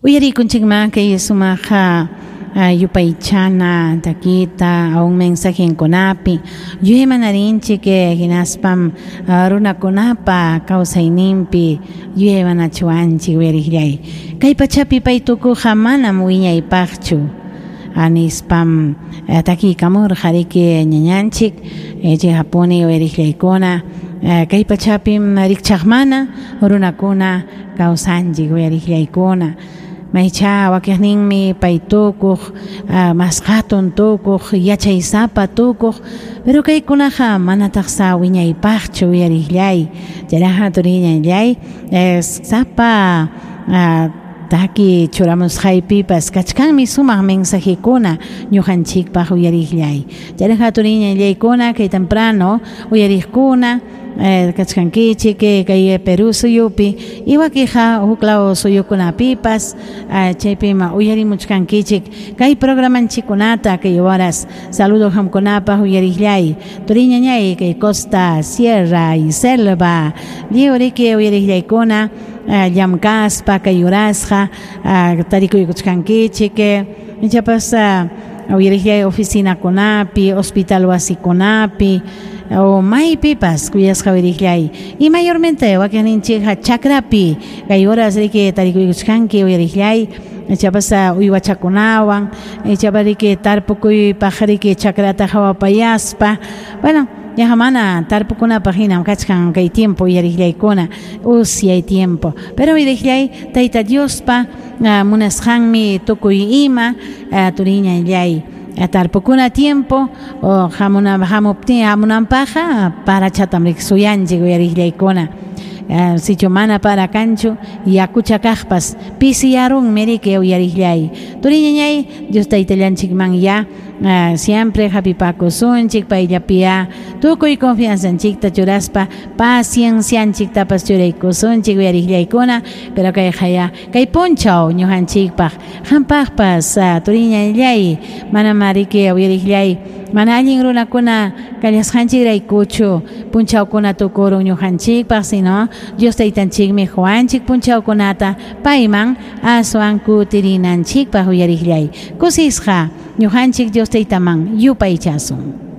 Uyarikunchikman kay sumaq yupaychana takita aun mensajenkunapi yuyaymanarinchik hinaspam runakunapa kawsayninpi yuyaymanachiwanchik uyariqllay. Kay pachapi pay tukuqqa manam wiñaypaqchu nispam takiykamurqa riki ñañanchik chayqapuni uyariqllaykuna kay pachapim rikchaqmana runakuna kawsanchik uyariqllaykuna. Maycha wakiqninmi pay tukuq, mas hatun tukuq, yachaysapa tukuq, pero kaykunaqa manataq sa wiñaypaqchu uyariqllay. Chayraqa turiñallay sapa taki churamusqaypipas kachkanmi sumaq mensajekuna ñuqanchikpaq uyariqllay. Chayraqa turiñallaykuna kay temprano uyariqkuna kachkankichik kay Perú suyupi y wakiqa huklaw suyukunapipas chaypim uyarimuchkankichik kay programanchikkunata kay horas. Saludo qamkunapaq uyariqllay turiñañay kay costa, sierra y selva lliw riki uyariqllaykuna llamkaspa kay horasqa tarikuykuchkankichik ichapas uyariqllay oficinakunapi, hospital wasikunapi o maypipas kuyasqa uyariqllay y mayormente wakiqninchikqa chakrapi kay horas riki tarikuykuchkanki uyariqllay ichapas uywachakunawan ichapas riki tarpukuypaq riki chakrata hawapayaspa. Bueno, yaqa mana tarpukunapaq hinam kachkan kay tiempo uyariqllaykuna usyay tiempo, pero uyariqllay Tayta Diospa munasqanmi tukuy ima turiñallay tarpukuna tiempo o hamuptin hamunanpaqqa parachatam riki suyanchik uyariqllaykuna. Sichu mana para kanchu yakucha kaqpas pisiyarunmi riki uyariqllay. Turiñañay Dios Taytallanchikman ya siempre hapipakusunchik payllapiya tukuy confianzanchikta churaspa paciencianchiktapas churaykusunchik uyariqllaykuna, pero kayqa ya kay punchaw ñuqanchikpaq qampaqpas turiñallay manam riki uyariqllay mana allin runakuna kallasqanchikraykuchu punchawkuna tukurun ñuqanchikpaq, sino Dios Taytanchikmi quwanchik punchawkunata payman aswan kutirinanchikpaq uyariqllay. Kusisqa ñuqanchik Dios Taytaman yupaychasun.